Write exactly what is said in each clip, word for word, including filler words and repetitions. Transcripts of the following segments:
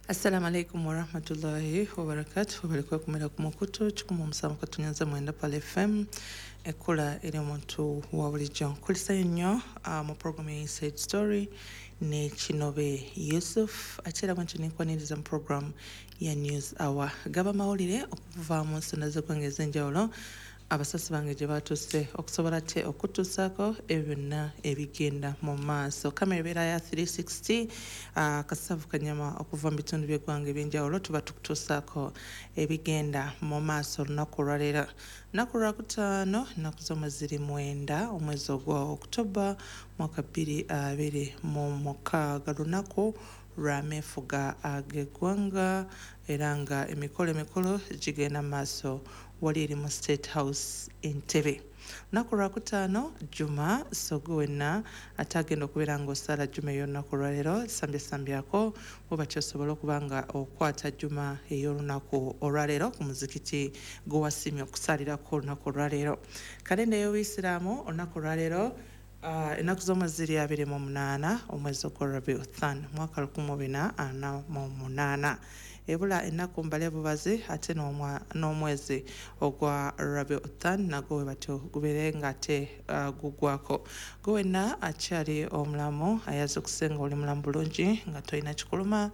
Assalamu alaikum warahmatullahi wabarakatuh. Balikuwa kumera ku mukutu kikumi omusanvu katunyanza mwenda Pal F M ekula eri omuntu wa bulijjo. Nkulisayo nnyo uh, mu program ya Inside Story ne Kinobe Yusuf, ate era bwentyo nenkwaniriza mu program ya News Hour. Gaba mawulire okuva mu nsonda z'eggwanga ez'enjawulo abasasi bange gye batuuse okusobola te okutuusaako ebyo byonna ebigenda mu maaso. Kamera ebeera ya three sixty, uh, kasavu kanyama okuva mu bitundu by'eggwanga eby'enjawulo tuba tukutuusaako ebigenda mu maaso olunaku olwaleero. Lunaku lwakutaano, ennaku z'omwezi ziri mwenda, omwezi ogwa October mwaka bbiri abiri mu mukaaga, lunaku lw'ameefuga ag'eggwanga, era nga emikolo emikolo gigenda mu maaso wali eri mu State House Entebbe. Lunaku lwakutaano Juma, so gwe wenna ate agenda okubeera ng'osaala Juma ey'olunaku olwaleero, sambyasambyako bw'oba kyosobola okuba nga okwata Juma ey'olunaku olwaleero ku muzikiti gwe wasiimye okusaalirako olunaku olwaleero. Kalenda ey'Obuyisiraamu olunaku olwaleero Uh, ennaku z'omwezi ziri abiri mu munaana omwezi ogwa Rabiul Thani mwaka lukumi mu bina ana mu munaana. Ebula ennaku mbale bubazi ate n'omwezi ogwa Rabiul Thani nagwo we batyo gubeere nga ate uh, gugwako. Gwe wenna akyali omulamu ayaza okusenga oli mulamu bulungi nga tolina kikuluma,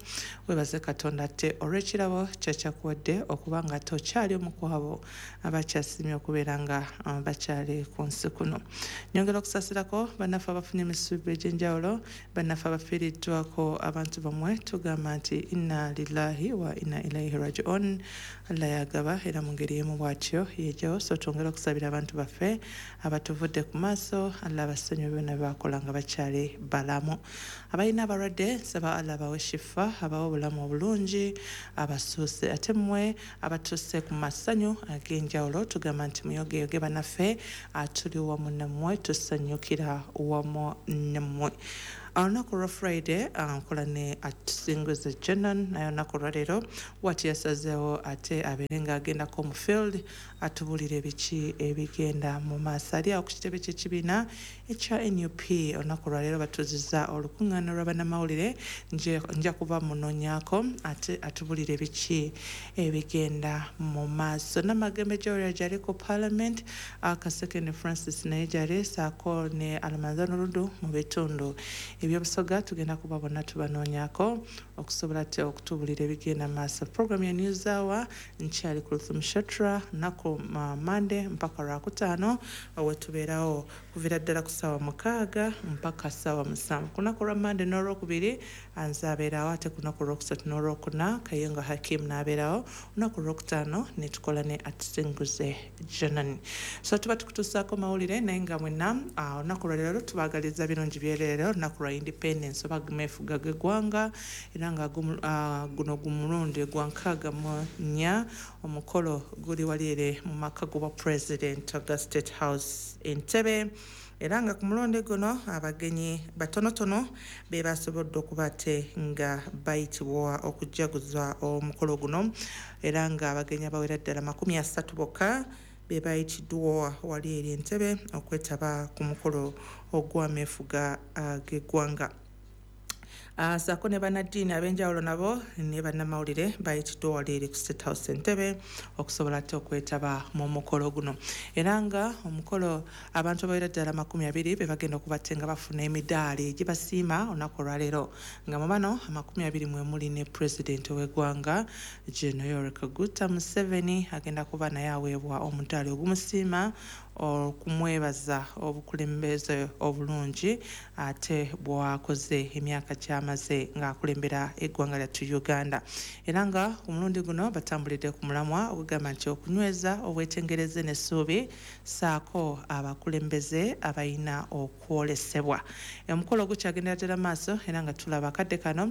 weebaze Katonda ate olw'ekirabo kyakyakuwadde okuba nga ate okyali omu ku abo abakyasiimye okubeera nga uh, bakyali ku nsi kuno. Nyongera okusaasirako bannaffe abafunye emisubi egy'enjawulo, bannaffe abafiiriddwako abantu bamwe, tugamba nti inna lillahi wa inna ilaihi rajiun. Allah yagaba era mu ngeri y'emu bw'atyo yejjawo. So twongere okusabira abantu baffe abatuvudde ku maaso, Allah abasonyiwe byonna bye bakola nga bakyali balamu. Abalina abalwadde nsaba Allah abawe shifa, abawe obulamu obulungi, abasuuse. Ate mmwe abatuuse ku masanyu ag'enjawulo tugamba nti muyogeyoge bannaffe, tuli wamu nammwe, tusanyukira wamu nammwe. Olunaku lwa Friday nkola ne Atusinguze Jenan, naye olunaku olwaleero wati yasazeewo ate abeere ng'agendako mu field atubuulire biki ebigenda mu maaso. Ali awo ku kitebe ky'ekibiina ekya N U P olunaku olwaleero batuuzizza olukuŋŋaana lwa bannamawulire, nja kuba munoonyaako ate atubuulire biki ebigenda mu maaso. Namagembe Joel gyali ku Parliament, Kasekende Francis naye gyali, ssaako ne Alamanzano Ludu mu bitundu ebyobusoga tugenda kuba bonna tubanoonyaako okusobola ate okutubuulira ebigenda mu maaso. Program ya News Hour nkyali Kulthum Shatra, lunaku Mande mpaka lwakutaano we tubeerawo kuviira ddala ku ssaawa mukaaga mpaka ssaawa musanvu. Ku lunaku lwa Mande n'olwokubiri nze abeerawo, ate ku lunaku olwokusatu n'olwokuna Kayongo Hakim n'abeerawo, olunaku olwokutaano ne tukola ne Atusinguze Jenan. So tuba tukutuusaako mawulire, naye nga mwenna olunaku lwaleero tubaagaliza birungi byereere, olunaku lwa Independence oba ameefuga g'eggwanga, era nga guno gumulundi gwa nkaaga mu nnya. Omukolo guli wali ere mu maka g'obwa President ga State House Entebbe, era nga ku mulundi guno abagenyi batonotono be basobodde okuba ate nga bayitibwa okujaguza omukolo guno, era nga abagenyi abawera ddala makumi asatu bokka be bayitiddwa wali eri Entebbe okwetaba ku mukolo ogw'ameefuga g'eggwanga. Uh, saako ne bannaddiini ab'enjawulo nabo ne bannamawulire bayitiddwa wali eri ku State House Entebbe okusobola ate okwetaba mu mukolo guno, era nga omukolo abantu abawera ddala makumi abiri be bagenda okuba ate nga bafuna emidaali gibasiima olunaku olwaleero, nga mu bano amakumi abiri mwe muli ne pulezidenti w'eggwanga General Yoweri Kaguta Museveni, agenda kuba naye aweebwa omudaali ogumusiima okumwebaza obukulembeze obulungi ate bw'akoze emyaka ky'amaze ng'akulembera eggwanga lyattu Uganda. Era nga ku mulundi guno batambulidde ku mulamwa ogugamba nti okunyweza obwetengereze n'essuubi ssaako abakulembeze abalina okwolesebwa. Omukolo gukyagendera ddala maaso, era nga tulaba akadde kano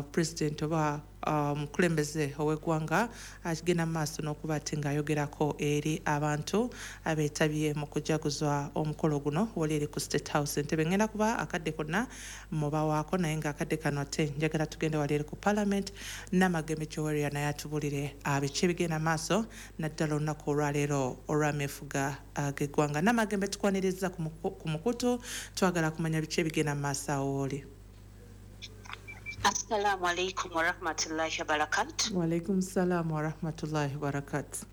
pulezidenti oba omukulembeze ow'eggwanga agenda mu maaso n'okuba ate ng'ayogerako eri abantu abeetabye mu kujaguza omukolo guno wali eri ku State House Entebbe. Ngenda kuba akadde konna mubawaako, naye ng'akadde kano ate njagala tugende wali eri ku Parliament, Namagembe Joel naye atubulire biki ebigenda maaso naddala olunaku olwaleero olw'ameefuga g'eggwanga. Namagembe tukwaniriza ku mukutu, twagala kumanya biki ebigenda mu maaso awo oli. Assalamu alaikum warahmatullahi wabarakatuh. Wa alaikum salam warahmatullahi wabarakatuh.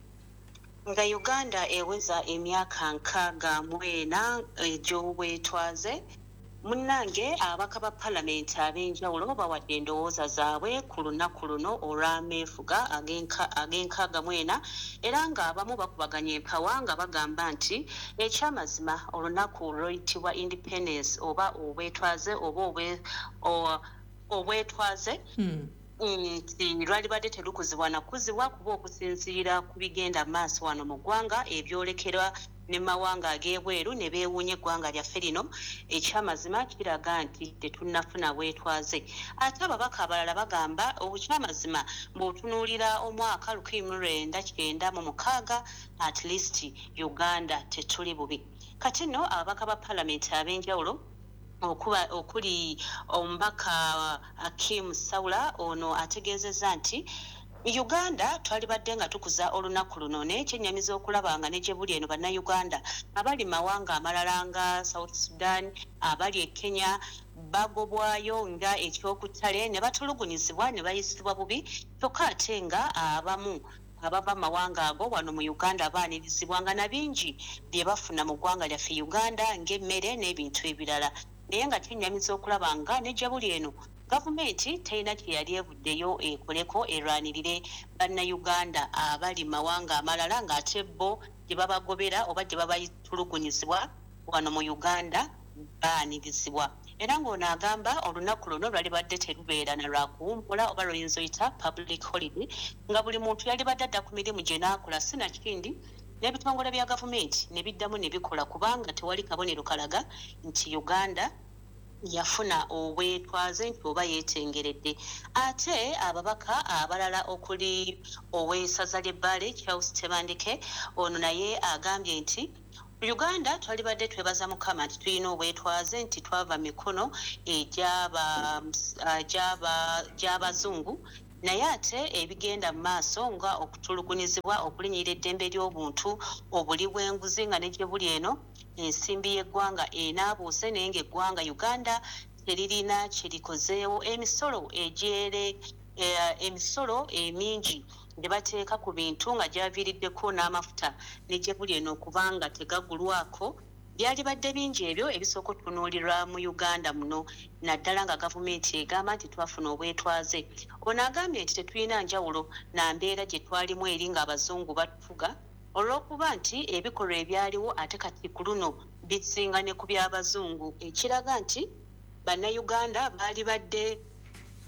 Nga Uganda eweza emyaka nkaaga mu ena egy'obwetwaze, munnange ababaka ba palamenti ab'enjawulo bawadde endowooza zaabwe ku lunaku luno olw'ameefuga ag'enkaaga mu ena, era ng'abamu bakubaganya empawa nga bagamba nti ekyamazima olunaku luyitibwa independence oba obwetwaze oba obwetwaze nti lwalibadde telukuzibwa nakuzibwa kuba okusinziira ku bigenda maaso wano mu ggwanga ebyolekerwa ne mawanga ag'ebweru ne beewuunya eggwanga lyaffe lino, ekyamazima kiraga nti tetunnafuna bwetwaze. Ate ababaka abalala bagamba obukyamazima bw'otunuulira omwaka lukumi mu lwenda kyenda mu mukaaga at least Uganda tetuli bubi. Kati nno ababaka ba palamenti ab'enjawulo okuba okuli omubaka Akim Saula ono ategeezezza nti Uganda twalibadde nga tukuza olunaku luno, naye kyennyamiza okulaba nga ne gye buli eno bannayuganda abali mawanga amalala nga South Sudan, abali e Kenya bagobwayo nga ekyokutale ne batulugunyizibwa ne bayisibwa bubi, kyokka ate nga abamu abava mawanga ago wano mu Uganda baanirizibwa nga na bingi bye bafuna mu ggwanga lyaffe Uganda ng'emmere n'ebintu ebirala. Naye nga kyennyamiza okulaba nga ne gye buli eno gavumenti terina kye yali evuddeyo ekoleko erwanirire bannayuganda abali mawanga amalala ng'ate bo gye babagobera oba gye babatulugunyizibwa wano mu Uganda baanirizibwa. Era ng'ono agamba olunaku luno lwalibadde terubeera na lwakuwummula oba luyinza oyita public holiday, nga buli muntu yalibadde adda ku mirimu gye n'akola sinakindi n'ebitongole bya gavumenti ne biddamu ne bikola, kubanga tewali kabonero kalaga nti Uganda yafuna obwetwaze nti oba yeetengeredde. Ate ababaka abalala okuli ow'essaza ly'Ebbaale Charles Tebandeke ono naye agambye nti Uganda twalibadde twebaza Mukama nti tulina obwetwaze, nti twava mikono egy'abazungu, naye ate ebigenda mu maaso nga okutulugunyizibwa, okulinyirira eddembe ly'obuntu, obuli bw'enguzi nga ne gye buli eno ensimbi y'eggwanga enaabuuse, naye ng'eggwanga Uganda teririna kye likozeewo. Emisolo egyere emisolo emingi gye bateeka ku bintu nga gyaviiriddeko n'amafuta ne gye buli eno okubanga tegagulwako, byalibadde bingi ebyo ebisooka okutunuulirwa mu Uganda muno, naddala nga gavumenti egamba nti twafuna obwetwaze. Ono agambye nti tetulina njawulo na mbeera gye twalimu eri ng'abazungu batufuga, olw'okuba nti ebikolwa ebyaliwo ate kati ku luno bisinga ne ku by'abazungu, ekiraga nti bannayuganda baalibadde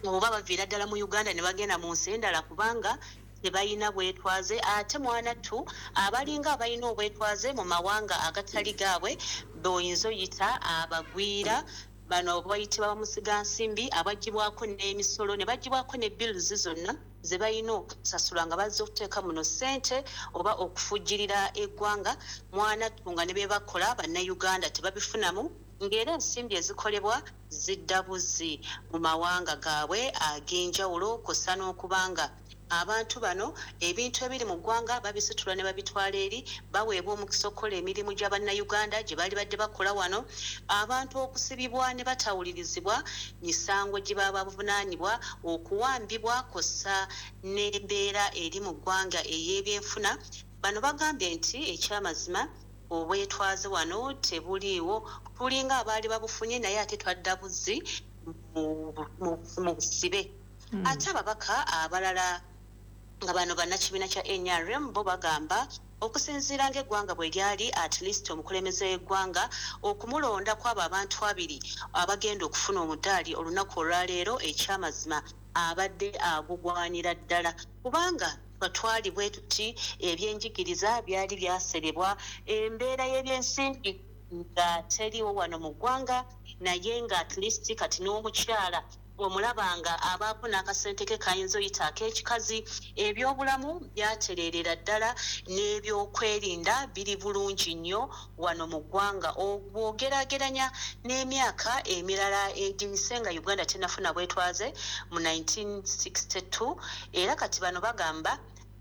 oba baviira ddala mu Uganda ne bagenda mu nsi endala kubanga tebalina bwetwaze. Ate mwanattu abalinga abalina obwetwaze mu mawanga agatali gaabwe boyinza oyita abagwira, bano bayitibwa bamusigansimbi abaggyibwako n'emisolo ne baggyibwako ne bills zonna ze balina okusasula nga bazze okuteeka muno ssente oba okufujjirira eggwanga. Mwanattu nga ne bye bakola bannayuganda tebabifunamu, ng'era ensimbi ezikolebwa zidda buzzi mu mawanga gaabwe ag'enjawulo, kw'ossa n'okubanga abantu bano ebintu ebiri mu ggwanga babisitula ne babitwala eri, baweebwa omukisa okukola emirimu gya bannayuganda gye baali badde bakola wano. Abantu okusibibwa ne batawulirizibwa misango gye baba bavunaanibwa, okuwambibwa kw'ossa n'embeera eri mu ggwanga ey'ebyenfuna. Bano bagambye nti ekyamazima obwetwaze wano tebuliiwo, tulinga abaali babufunye naye ate twadda buzzi mu busibe. Ate ababaka abalala nga bano bannakibiina kya N R M bo bagamba okusinziira ng'eggwanga bwe lyali at least omukulembeze w'eggwanga okumulonda kw'abo abantu abiri abagenda okufuna omudaali olunaku olwaleero, ekyamazima abadde agugwanira ddala, kubanga twali bwe tuti ebyenjigiriza byali byaserebwa, embeera y'ebyensimbi nga teriiwo wano mu ggwanga, naye nga at least kati n'omukyala omulabanga abaako n'akasente ke kayinza oyita ak'ekikazi. Ebyobulamu byatereerera ddala n'ebyokwerinda biri bulungi nnyo wano mu ggwanga bw'ogeraageranya n'emyaka emirala egiyise nga Uganda tennafuna bwetwaze mu nineteen sixty-two. Era kati bano bagamba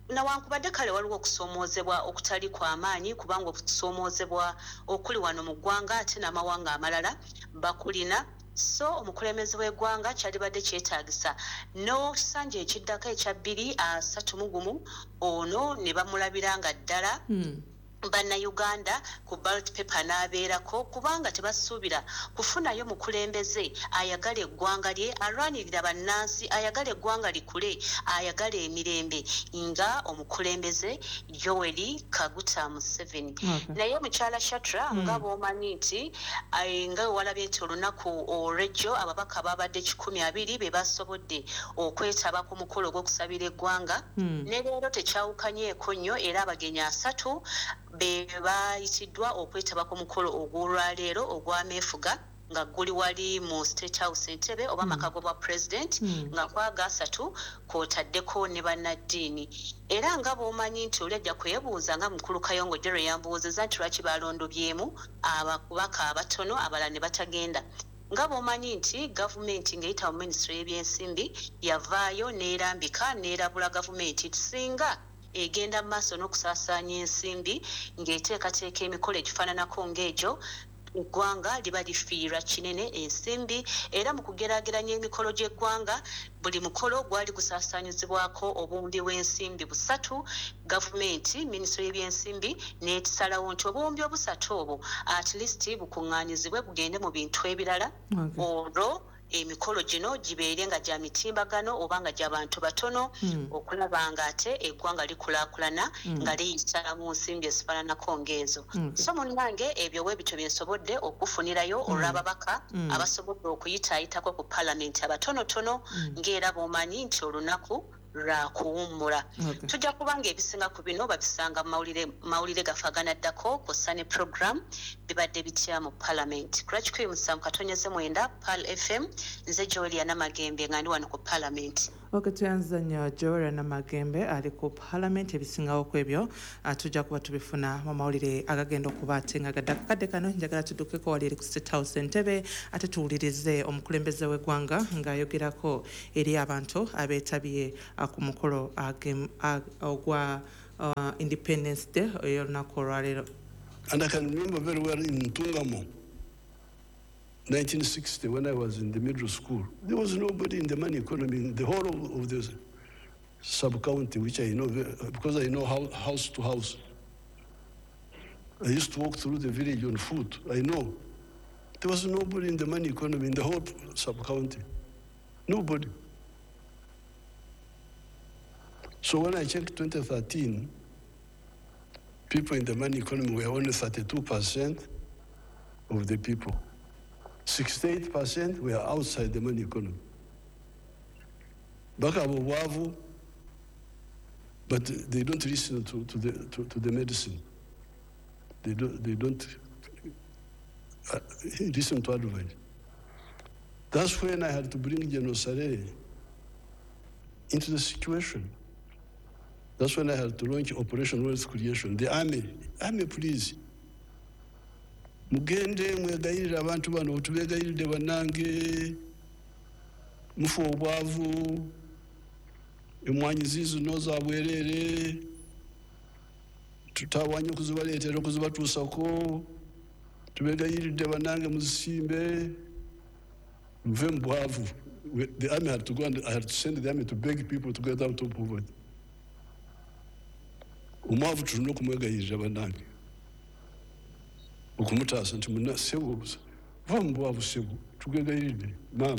nawankubadde kale waliwo okusoomoozebwa okutali kw'amaanyi, kubanga okusoomoozebwa okuli wano mu ggwanga ate n'amawanga amalala bakulina, So omukulembeze w'eggwanga kyalibadde kyetaagisa n'okisanja ekiddako ekya bbiri asatu mu gumu ono ne bamulabira nga ddala Mm. bannayuganda ku ballot paper n'abeerako, kubanga tebasuubira kufunayo mukulembeze ayagala eggwanga lye, alwanirira bannansi, ayagala eggwanga likule, ayagala emirembe nga omukulembeze Yoweri Kaguta Museveni. Okay. Naye mukyala Shatra, Mm. nga bw'omanyi nti eh, nga bwe walabye nti olunaku olw'ejjo ababaka babadde kikumi abiri be basobodde okwetaba ku mukolo ogw'okusabira eggwanga, Mm. ne leero tekyawukanyeeko nnyo, era abagenyi asatu be bayitiddwa okwetaba ku mukolo ogw'olwaleero ogw'ameefuga nga guli wali mu State House Entebbe oba amaka g'obwa president, Mm. nga kwaga asatu kw'otaddeko ne bannaddiini. Era nga bw'omanyi nti oli ajja kwebuuza nga mukulu Kayongo Jerry yambuuzizza nti lwaki balondobyemu ababaka abatono abalala ne batagenda, nga bw'omanyi nti gavumenti ng'eyita mu minisitule y'ebyensimbi yavaayo n'erambika n'erabula gavumenti nti singa egenda mu maaso n'okusaasaanya ensimbi ng'eteekateeka emikolo egifaananako ng'egyo, eggwanga liba lifiirwa kinene ensimbi. Era mu kugeraageranya emikolo gy'eggwanga, buli mukolo gwali gusaasaanyizibwako obuwumbi bw'ensimbi busatu. Gavumenti, minisitule y'ebyensimbi n'etisalawo nti obuwumbi obusatu obwo at least bukuŋŋaanyizibwe bugende mu bintu ebirala, Okay. olwo emikolo gino gibeere nga gya mitimbagano oba nga gya bantu batono, Mm. okulaba nga ate eggwanga likulaakulana Mm. nga liyita mu nsimbi ezifaananako ng'ezo. Okay. So munnange, ebyo bwe bityo bye nsobodde okufunirayo Mm. olw'ababaka Mm. abasobodde okuyitaayitako ku paalamenti abatonotono, Mm. ng'era bw'omanyi nti olunaku lwakuwummula. Okay. Tujja kubanga ebisinga ku bino babisanga mu mawulire mawulire gaffe aganaddako kw'ossa ne program bibadde bitya mu paalamenti. Ku lwa kikumi musanvu katonyeze mwenda Pearl F M, nze Joelia Namagembe nga ndi wano ku paalamenti. Ok, tuyanza nnyo Joel Namagembe ali ku parliament. Ebisingawo ku ebyo ah, tujja kuba tubifuna mu mawulire agagenda okuba ate nga gadde. Akakadde kano njagala tuddukeko wali eri ku State House Entebbe, ate tuwulirize omukulembeze w'eggwanga ng'ayogerako eri abantu abeetabye ah, ku mukolo agem- ag- ogwa ah, Independence Day ey'olunaku olwaleero. And I can remember very well in Ntungamo, nineteen sixty, when I was in the middle school, there was nobody in the money economy in the whole of, of the sub-county, which I know, because I know how, house to house. I used to walk through the village on foot. I know. There was nobody in the money economy in the whole sub-county. Nobody. So when I checked twenty thirteen, people in the money economy were only thirty-two percent of the people. sixty-eight percent were outside the money economy. Bakaaba obwavu, but they don't listen to, to, the, to, to the medicine. They don't, they don't uh, listen to advice. That's when I had to bring General Saleh into the situation. That's when I had to launch Operation Wealth Creation. The army, army please. Mugende mwegayirire abantu bano, tubegayiridde bannange, mufu obwavu, emwanyi ziizino za bwereere, tutawanye okuzibaleetera okuzibatuusako, tubegayiridde bannange muzisimbe, muve mu bwavu. The army had to go and I had to send the army to beg people to get out of poverty. Omwavu tulina okumwegayirira bannange, okumutaasa nti muna ssebo va mu bwavu, ssebo tugegayiridde maama.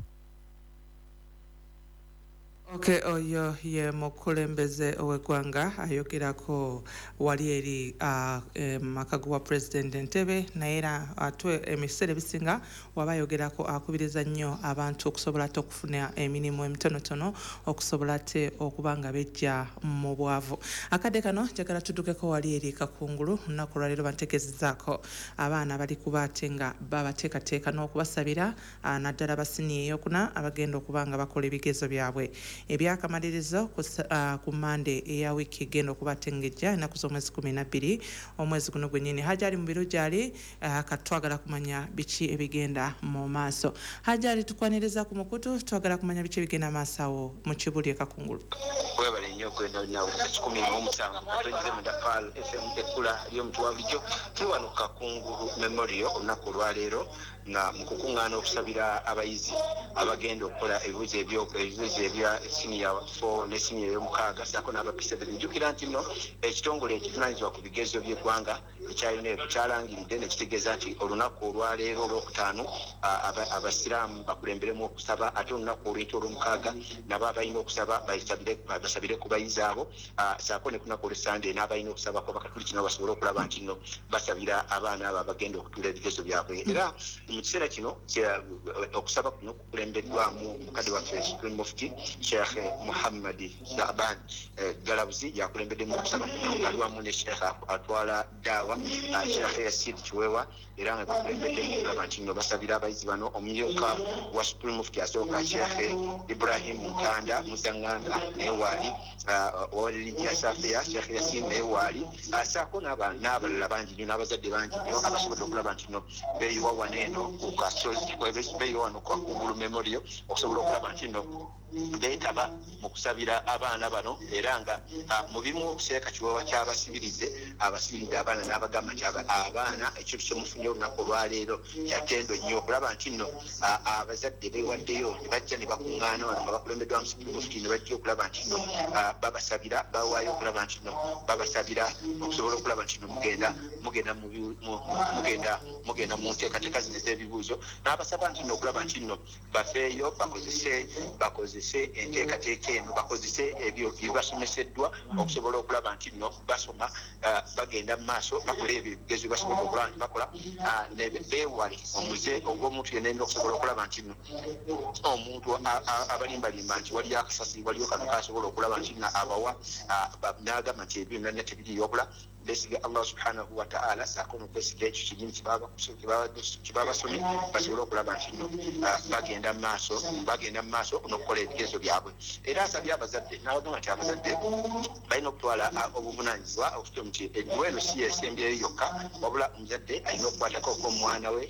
Okay, oyo ye mukulembeze ow'eggwanga ayogerako wali eri uh, maka gwa President Entebbe. Naye era ate ebiseera ebisinga waba ayogerako akubiriza nnyo abantu okusobola ate okufuna emirimu emitonotono, okusobola ate okuba nga bejja mu bwavu. Akadde kano njagala tuddukeko wali eri Kakungulu. Olunaku olwaleero bantegeezezaako abaana bali kuba ate nga babateekateeka n'okubasabira, uh, naddala basiniya eyokuna abagenda okuba nga bakola ebigezo byabwe ebyakamalirizo ku sa-, uh, ku Mande eya wiiki egenda okuba ate ng'ejja, ennaku z'omwezi kumi na bbiri omwezi guno gwennyini. Hajali mu biro gyali, uh, kati twagala kumanya biki ebigenda mu maaso. Hajali, tukwaniriza ku mukutu, twagala kumanya biki ebigenda mu maaso awo mu Kibuli e Kakungulu. Webale nnyo okwenda nawe kikumi mu musanvu katonyeze munda Pearl F M, ekkula ly'omuntu wa bulijjo. Tuli wano Kakungulu Memorial olunaku olwaleero Nga mu kukuŋŋaana okusabira abayizi abagenda okukola ebibuuzo ebibuuzo ebya siniya four ne siniya ey'omukaaga ssaako n'aba P seven. Jjukira nti nno ekitongole ekivunaanyizibwa ku bigezo by'eggwanga ekya UNEB kyalangiridde ne kitegeeza nti olunaku olwaleero olwokutaano abasiraamu bakulemberemu okusaba, ate olunaku olw'enkya olw'omukaaga nabo abalina okusaba basabire ku bayizi abo, ssaako ne ku lunaku olw'Essande n'abalina okusabako Abakatuliki nabo basobole okulaba nti nno basabira abaana abo abagenda okutuula ebigezo byabwe. Era mu kiseera kino okusaba kuno kukulembeddwamu mukadde waffe Supreme Mufti Sheikh Muhammad Shaban Galabuzi, yakulembeddemu okusaba kuno ali wamu ne Sheikh atwala daawa Sheikh Yasid Kiweewa, era nga bakulembeddemu okulaba nti nno basabira abayizi bano. Omumyuka wa Supreme Mufti asooka Sheikh Ibrahim Mutanda Muzanganda naye waali, owa Religious Affairs Sheikh Yasin naye waali, ssaako n'abalala bangi nnyo n'abazadde bangi nnyo abasobodde okulaba nti nno beeyiwa wano eno ku kasozi, beeyiwa wano ku Kakungulu Memorial okusobola okulaba nti nno beetaba mu kusabira abaana bano. Era nga mu bimu Sheikh Kiweewa kyabasibirize abasibiridde abaana n'abagamba nti abaana ekintu kyemufunye olunaku olwaleero kyatendo nnyo okulaba nti nno abazadde beewaddeyo ne bajja ne bakuŋŋaana wano nga bakulembeddwamu Supreme Mufti ne bajja okulaba nti nno babasabira, bawaayo okulaba nti nno babasabira okusobola okulaba nti nno mugenda mugenda mugenda mugenda mu nteekateeka zino ez'ebibuuzo, n'abasaba nti nno okulaba nti nno bafeeyo bakozese bakozese enteekateeka eno, bakozese ebyo bibasomeseddwa okusobola okulaba nti nno basoma, bagenda mu maaso bakola ebyo ebigezo basobola okulaba nti bakola, beewale omuze ogw'omuntu yenna yenna okusobola okulaba nti nno omuntu abalimbalimba nti waliyo akasasi, waliyo kano kasobola okulaba nti nno abawa n'agamba nti ebyo byonna tebiriiyo, wabula beesiga Allah subhanahu wa ta'ala ssaako n'okwesiga ekyo kinnyini kye babasomye basobole okulaba nti nno bagenda mu maaso bagenda mu maaso n'okukola ebigezo byabwe. Era asabye abazadde n'abagamba nti abazadde balina okutwala obuvunaanyizibwa okutuuka nti edduwa eno si yesembyeyo yokka, wabula omuzadde alina okukwatako okw'omwana we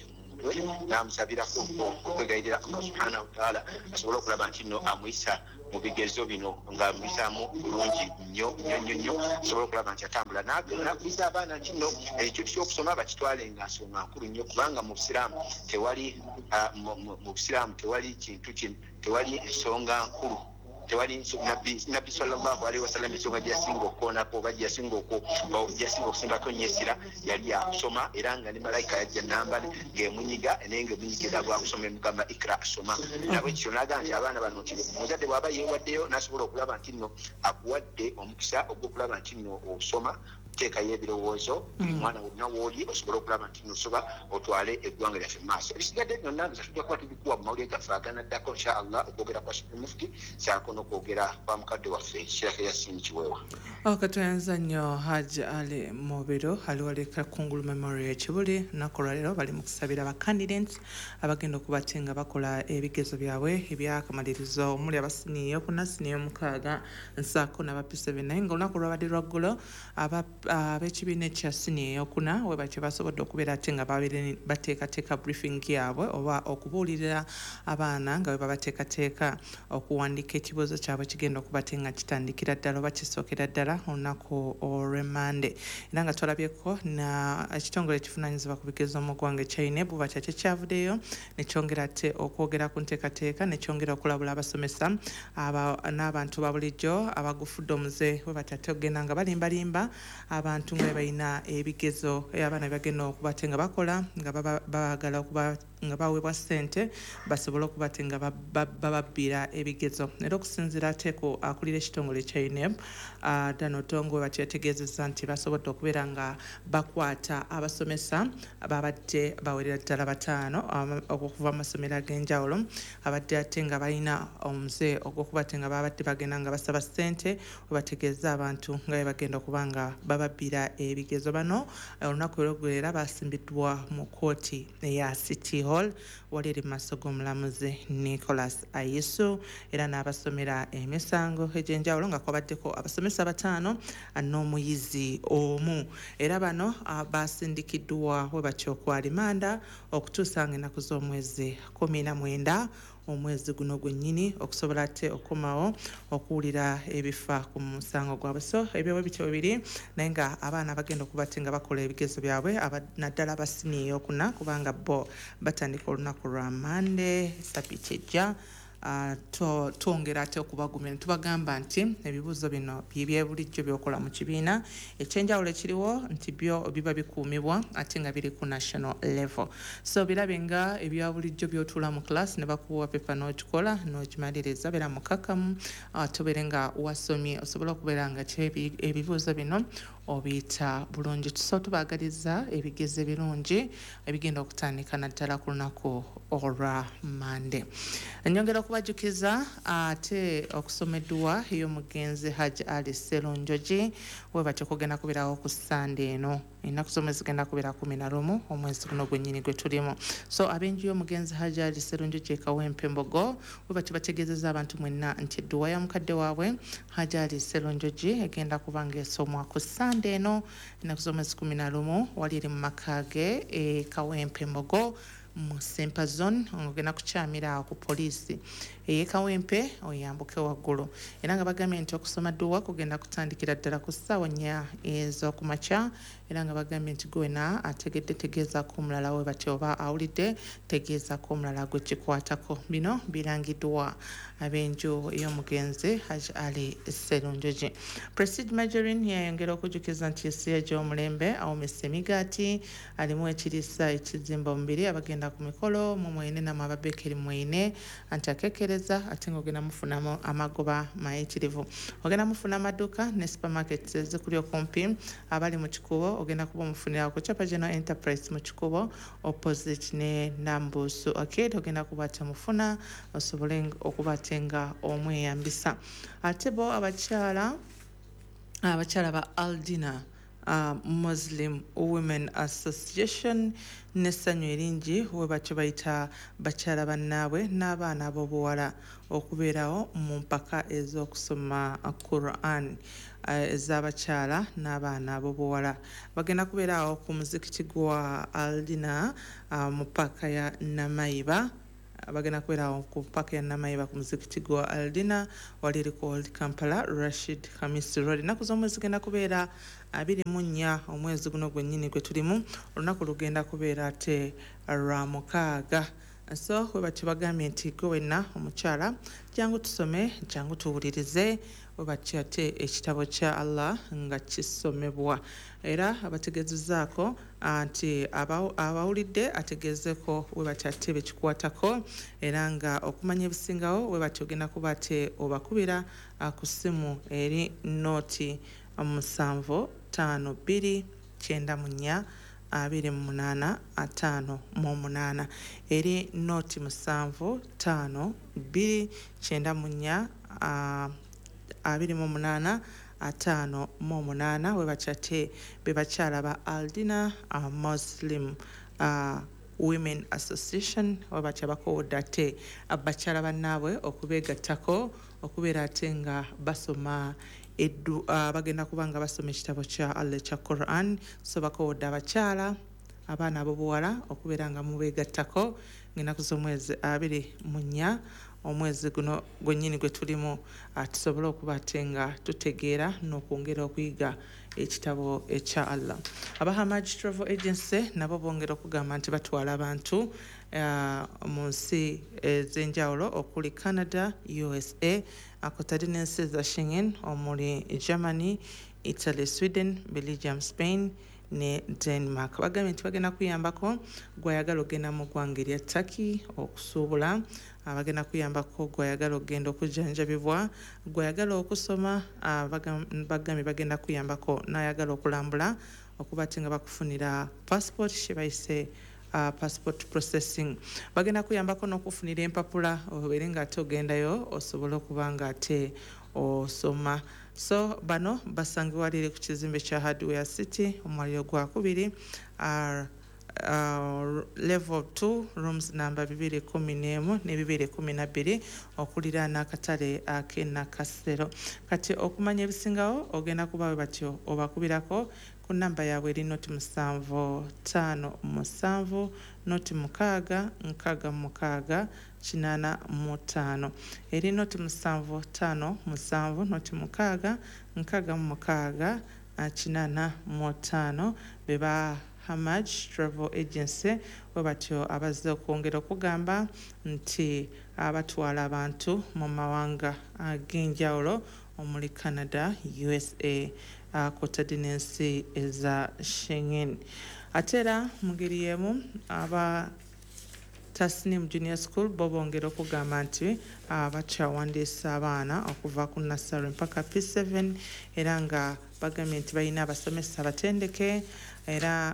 n'amusabirako okwegayirira Allah subhanahu wa ta'ala asobole okulaba nti nno amuyisa mu bigezo bino ng'amuyisaamu bulungi nnyo nnyo nnyo nnyo, asobole okulaba nti atambula. N'akubiriza abaana nti nno ekintu ky'okusoma bakitwale nga nsonga nkulu nnyo, kubanga mu busiraamu tewali mu busiraamu tewali kintu kino, tewali nsonga nkulu, tewali Nabbi sallallahu alaihi wasallam ensonga gye yasinga okukoonako oba gye yasinga gye yasinga okusimbako nnyo essira yali yakusoma, era nga ne malayika yajja namba ng'emunyiga naye ng'emunyigira bwakusoma emugamba ikra, soma. Nabwekityo n'agamba nti abaana bano nti omuzadde bw'aba yeewaddeyo n'asobola okulaba nti nno akuwadde omukisa ogw'okulaba nti nno osoma, teekayo ebirowoozo buli mwana wonna w'oli osobole okulaba nti nno osoba otwale eggwanga lyaffe mu maaso. Ebisigadde byonna nza tujja kuba tubikuwa mu mawulire gaffe aganaddako insha Allah, okwogera kwa Supreme Mufti ssaako n'okwogera kwa mukadde waffe Sheikh Yasin Kiweewa. Katuyanza nnyo Hajj Ali Mubiro ali wali Kakungulu Memorial Kibuli. Olunaku olwaleero bali mu kusabira ba candidates abagenda okuba ate nga bakola ebigezo byabwe ebyakamalirizo, omuli abasiniya eyokuna, siniya ey'omukaaga nsaako n'aba P seven. Naye nga olunaku lwabadde lwaggulo, ab'ekibiina ekya siniya eyokuna we bakye basobodde okubeera ate nga bateekateeka briefing yaabwe oba okubuulirira abaana nga bwe babateekateeka okuwandiika ekibuuzo kyabwe kigenda okuba ate nga kitandikira ddala oba kisookera ddala olunaku olw'Emmande. Era nga twalabyeko na ekitongole ekivunaanyizibwa ku bigezo mu ggwanga ekya UNEB bakya kyekyavuddeyo ne kyongera ate okwogera ku nteekateeka ne kyongera okulabula abasomesa n'abantu ba bulijjo abagufudde omuze we batya ate okugenda nga balimbalimba abantu nga balina ebigezo abaana bagenda okuba ate nga bakola nga baagala okuba nga baweebwa ssente basobole okuba ate nga bababbira ebigezo. Era okusinziira ate ku akulira ekitongole ekya UNEB Dan Odongo, batyo yategeezezza nti basobodde okubeera nga bakwata abasomesa babadde bawerera ddala bataano okuva mu masomero ag'enjawulo abadde ate nga balina omuze ogw'okuba ate nga babadde bagenda nga basaba ssente we bategeeza abantu nga bwe bagenda okuba nga bababbira ebigezo. Bano olunaku olweggulo era basimbiddwa mu kkooti eya City Hall wali eri mu maaso g'omulamuzi Nicholas Ayisu, era n'abasomera emisango egy'enjawulo nga kwabaddeko abasomesa bataano n'omuyizi omu. Era bano basindikiddwa we batyo ku alimanda okutuusa nga ennaku z'omwezi kumi na mwenda omwezi guno gwennyini okusobola ate okukomawo okuwulira ebifa ku musango gwabwe. So ebyo bityo bibiri, naye nga abaana bagenda okuba ate nga bakola ebigezo byabwe, naddala abasiniya eyokuna, kubanga bo batandika olunaku lwa Mande sabiti ejja. Uh, twongera ate okubagumira tubagamba nti ebibuuzo bino bye bulijjo by'okola mu kibiina. Ekyenjawulo ekiriwo nti byo biba bikuumibwa ate nga biri ku national level. So birabe nga ebya bulijjo by'otuula mu class ne bakuwa pepa n'ogikola n'ogimaliriza, beera mukakamu, ate obeere nga wasomye osobola okubeera nga ebibuuzo bino obiyita bulungi. So tubaagaliza ebigezo ebirungi ebigenda okutandika naddala ku lunaku olwa Mande. Nnyongera okubajjukiza ate okusoma edduwa ey'omugenzi Hajji Ali Sserunjogi webatyo kugenda kubeerawo ku Sande eno. Ennaku z'omwezi zigenda kubeera kumi na lumu omwezi guno gwennyini gwe tulimu. So ab'enju y'omugenzi Hajji Ali Sserunjogi e Kawempe Mbogo webatyo bategeezezza abantu mwenna nti edduwa ya mukadde waabwe Hajji Ali Sserunjogi egenda kuba ng'esomwa ku Sande eno ennaku z'omwezi kumi na lumu wali eri mu maka ge e Kawempe Mbogo mu Sempa Zone. Ogenda kukyamira awo ku poliisi ey'e Kawempe oyambuke waggulu. Era nga bagambye nti okusoma dduwa kugenda kutandikira ddala ku ssaawa nnya ez'okumakya, era nga bagambye nti gwena ategedde tegeezaako omulala we batyo oba awulidde tegeezaako omulala gwe kikwatako. Bino birangiddwa ab'enju ey'omugenzi Hajji Ali Sserunjogi. Prestige Margarine yayongera okujjukiza nti ensi egy'omulembe awomesa emigaati alimu ekiriisa ekizimba omubiri, abagenda ku mikolo mu mwene namwe ababekeri mwene, anti akekereza ate ng'ogenda mufunamu amagoba mayitirivu. Ogenda mufuna amaduuka ne supermarkets ezikuli okumpi. Abali mu Kikubo ogenda kuba omufunira ku Chapa General Enterprise mu Kikubo opposite ne Nambuusu Arcade, ogenda kuba ate mufuna osobole okuba ate nga omweyambisa. Ate bo abakyala abakyala ba Aldina Uh, Muslim Women Association n'essanyu eringi we batyo bayita bakyala bannaabwe n'abaana ab'obuwala okubeerawo mu mpaka ez'okusoma Quran ez'abakyala n'abaana ab'obuwala. Bagenda kubeerawo ku muzikiti gwa Aldina uh, mu paaka ya Namayiba. Bagenda kubeerawo ku paaka ya Namayiba ku muzikiti gwa Aldina wali eri ku Old Kampala Rashid Khamis Road. Ennaku z'omwezi zigenda kubeera abiri mu nnya omwezi guno gwennyini gwe tulimu. Olunaku lugenda kubeera ate lwa mukaaga. So we batyo bagambye nti gwe wenna omukyala jangu tusome, jangu tuwulirize, we batyo ate ekitabo kya Allah nga kisomebwa. Era abategeezezzaako nti abawulidde ategeezeko we batyo ate bekikwatako, era nga okumanya ebisingawo we batyo ogenda kuba ate obakubira ku ssimu eri nooti musanvu ttaano bbiri kyenda mu nnya abiri mu munaana ataano mu munaana, eri nooti musanvu ttaano bbiri kyenda mu nnya abiri mu munaana ataano mu munaana. We batyo ate be bakyala ba Aldina uh, Muslim uh, Women Association we batyo bakoowodde ate abakyala bannaabwe okubeegattako okubeera ate nga basoma eddu uh, bagenda kuba nga basoma ekitabo kya Allah ekya Quran. So bakoowodde abakyala abaana ab'obuwala okubeera nga mubeegattako ng'ennaku z'omwezi abiri mu nnya omwezi guno gwennyini gwe tulimu, tusobole okuba ate nga tutegeera n'okwongera okuyiga ekitabo ekya Allah. Aba Hamaj Travel Agency nabo bongera okugamba nti batwala abantu uh, mu nsi ez'enjawulo okuli Canada, U S A, akotadde n'ensi eza Schengen omuli Germany, Italy, Sweden, Belgium, Spain ne Denmark. Bagambye nti bagenda kuyambako gw'ayagala ogenda mu ggwanga erya Turkey okusuubula, bagenda kuyambako gw'ayagala ogenda okujjanjabibwa, gw'ayagala okusoma, bagambye bagenda kuyambako n'ayagala okulambula okuba ate nga bakufunira passport kye bayise Uh, passport processing. Bagenda kuyambako n'okufunira empapula obeere nga ate ogendayo osobole okuba nga ate osoma. So bano basangibwa liri ku kizimbe kya Hardware City omwaliro gwa kubiri uh, uh, level two rooms number bibiri kumi n'emu ne bibiri kumi na bbiri okuliraana akatale ak'e Nakasero. Kati okumanya ebisingawo ogenda kuba we batyo obakubirako ku namba yaabwe eri noti musanvu ttaano musanvu noti mukaaga nkaaga mukaaga kinaana mu ttaano, eri noti musanvu ttaano musanvu noti mukaaga nkaaga mu mukaaga kinaana mu ttaano. Be ba Hamaj Travel Agency bwe batyo abazze okwongera okugamba nti abatwala abantu mu mawanga ag'enjawulo omuli Canada, U S A, kw'otadde n'ensi eza Schengen. Ate era mu ngeri y'emu aba Tasnim Junior School bo bongera okugamba nti bakyawandiisa abaana okuva ku nursery mpaka P seven, era nga bagambye nti balina abasomesa abatendeke era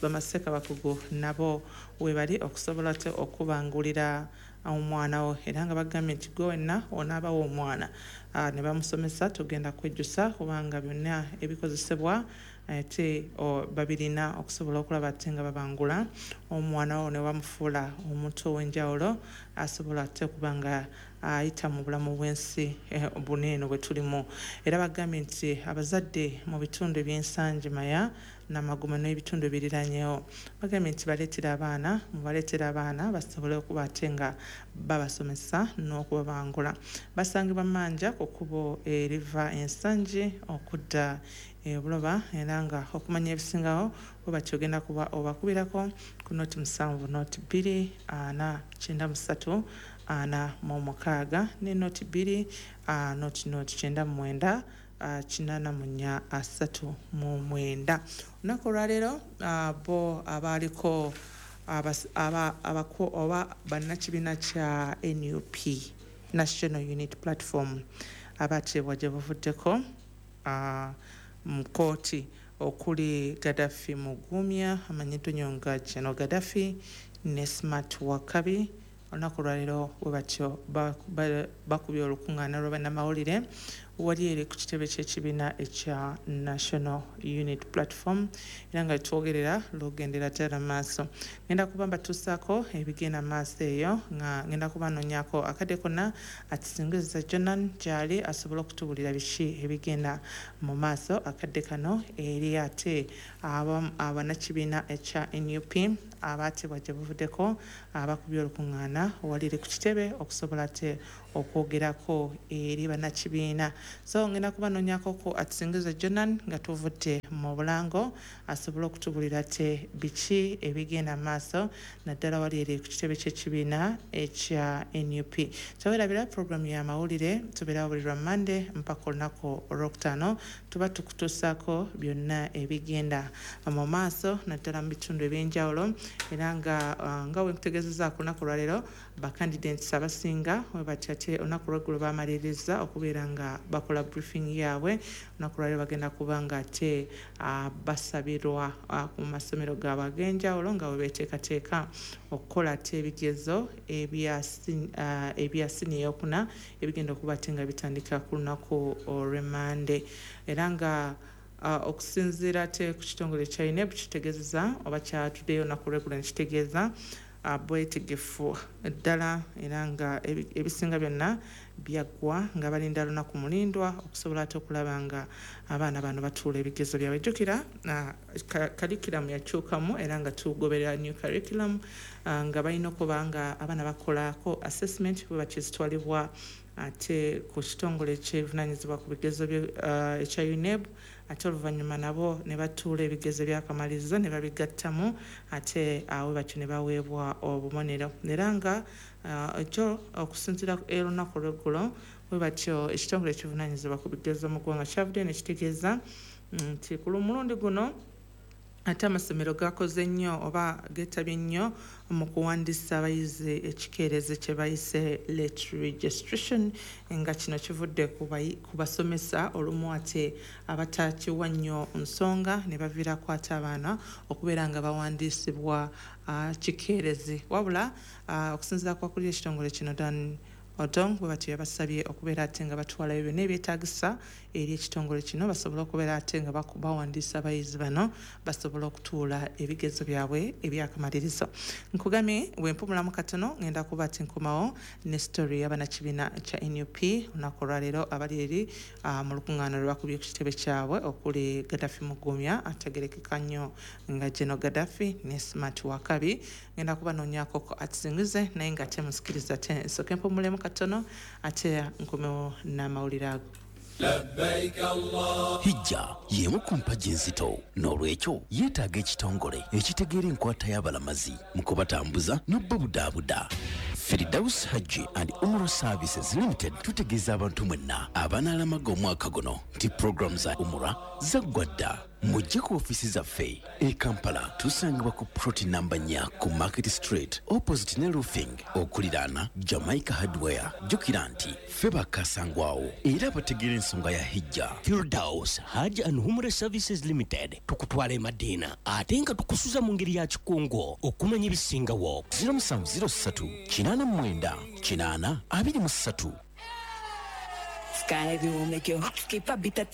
bamaseeka bakugu nabo we bali okusobola ate okubangulira omwana wo, era nga bagambye nti gwe wenna onaabawo omwana ne bamusomesa tugenda kwejjusa kubanga byonna ebikozesebwa ate babirina okusobola okulaba ate nga babangula omwana wo ne bamufuula omuntu ow'enjawulo asobola ate okuba nga ayita mu bulamu bw'ensi buno eno bwe tulimu. Era bagambye nti abazadde mu bitundu eby'Ensangi Maya Namagoma n'ebitundu ebiriranyeewo bagambye nti baleetera abaana mubaleetera abaana basobole okuba ate nga babasomesa n'okubabangula. Basangibwa Manja ku kkubo eriva Ensangi okudda Buloba, era nga okumanya ebisingawo bwe batyo ogenda kuba obakubirako ku noti musanvu noti bbiri ana kyenda mu ssatu ana mu mukaaga ne noti bbiri noti noti kyenda mu mwenda kinaana mu nnya asatu mu mwenda. Olunaku olwaleero bo abaaliko oba bannakibiina kya N U P, National Unity Platform, abateebwa gye buvuddeko mu kkooti okuli Gaddafi Mugumya amanyiddwa nnyo nga General Gaddafi ne Smart Wakabi. Olunaku olwaleero bwe batyo bakubye olukuŋŋaana lwa bannamawulire wali eri ku kitebe ky'ekibiina ekya National Unity Platform, era nga twogerera lugendera ddala maaso. Ngenda kuba mbatuusaako ebigenda maaso eyo, nga ngenda kuba nnoonyaako akadde konna atusingiza Jonan gy'ali asobole okutubuulira biki ebigenda mu maaso akadde kano eri ate abannakibiina ekya N U P abaatebwa gye buvuddeko abakubye olukuŋŋaana wali eri ku kitebe okusobola ate okwogerako eri bannakibiina. So ngenda kuba nnoonyaako ku atusingiza Jonan nga tuvudde mu bulango asobole okutubuulira ate biki ebigenda maaso naddala wali eri ku kitebe ky'ekibiina ekya N U P. Teweerabira puroguramu y'amawulire tubeerawo buli lwa Mmande mpaka olunaku olwokutaano, tuba tukutuusaako byonna ebigenda mu maaso naddala mu bitundu ebyenjawulo, era nga nga bwe nkutegeezezza ku lunaku olwaleero bakandidates abasinga we batyo ate olunaku olweggulo bamaliriza okubeera nga bakola briefing yaabwe. Olunaku olwaleero bagenda kuba nga ate basabirwa ku masomero gaabwe ag'enjawulo nga bwe beeteekateeka okukola ate ebigezo ebya siniya ey'okuna ebigenda okuba ate nga bitandika ku lunaku olw'Emmande. Era nga okusinziira ate ku kitongole kya U N E B kitegeezeza oba kyatuddeyo olunaku olweggulo ne kitegeeza bwetegefu ddala, era nga ebisinga byonna byaggwa nga balinda lunaku mulindwa okusobola ate okulaba nga abaana bano batuula ebigezo byabwe. Jjukira curriculum yakyukamu era nga tugoberera new curriculum, nga balina okuba nga abaana bakolako assessment bwe bakizitwalibwa ate ku kitongole ekivunaanyizibwa ku bigezo ekya U N E B, ate oluvannyuma nabo ne batuula ebigezo by'akamalirizo ne babigattamu ate awo batyo ne baweebwa obubonero. Era nga ekyo okusinziira olunaku olweggulo bwe batyo ekitongole ekivunaanyizibwa ku bigezo mu ggwanga kyavuddeyo ne kitegeeza nti ku mulundi guno ate amasomero gakoze nnyo oba geetabye nnyo mu kuwandiisa abayizi ekikeerezi kye bayise late registration, nga kino kivudde ku basomesa olumu ate abatakiwa nnyo nsonga ne baviirako ate abaana okubeera nga bawandiisibwa kikeerezi. Wabula okusinziira ku akulira ekitongole kino Dan Odong bwe batyo yabasabye okubeera ate nga batwalayo byonna ebyetaagisa eri ekitongole kino basobole okubeera ate nga bawandiisa abayizi bano basobole okutuula ebigezo byabwe ebyakamalirizo. Nkugambye bwe mpumulamu katono ngenda kuba ate nkomawo ne story y'abannakibiina kya N U P olunaku olwaleero abali eri mu lukuŋŋaana lwe bakubye ku kitebe kyabwe okuli Gaddafi Mugumya ategerekeka nnyo nga General Gaddafi ne Smart Wakabi. Ngenda kubanoonyaako atizingize naye nga ate musikiriza ate nsooke mpumulemu katono ate nkomewo n'amawulire ago. Hijja y'emu ku mpagi enzito, n'olwekyo yeetaaga ekitongole ekitegeera enkwata y'abalamazi mu kubatambuza n'obubudaabuda. Firdaus Hajji and Umrah Services Limited tutegeeza abantu mwenna abanaalamaga omwaka guno nti pulogulaamu za Umrah zaggwa dda. Mujje ku ofiisi zaffe e Kampala, tusangibwa ku plot namba nnya ku Market Street opposite ne Roofing okuliraana Jamaica Hardware. Jjukira nti ffe bakasangwawo era bategeera ensonga ya Hijja. Firdaus Hajj and Umrah Services Limited tukutwala e Madina ate nga tukusuza mu ngeri ya kikungo okumanya ebisingawo. zero musanvu zero ssatu kinaana mu mwenda kinaana abiri mu ssatu. Sky will make your heart skip a beat.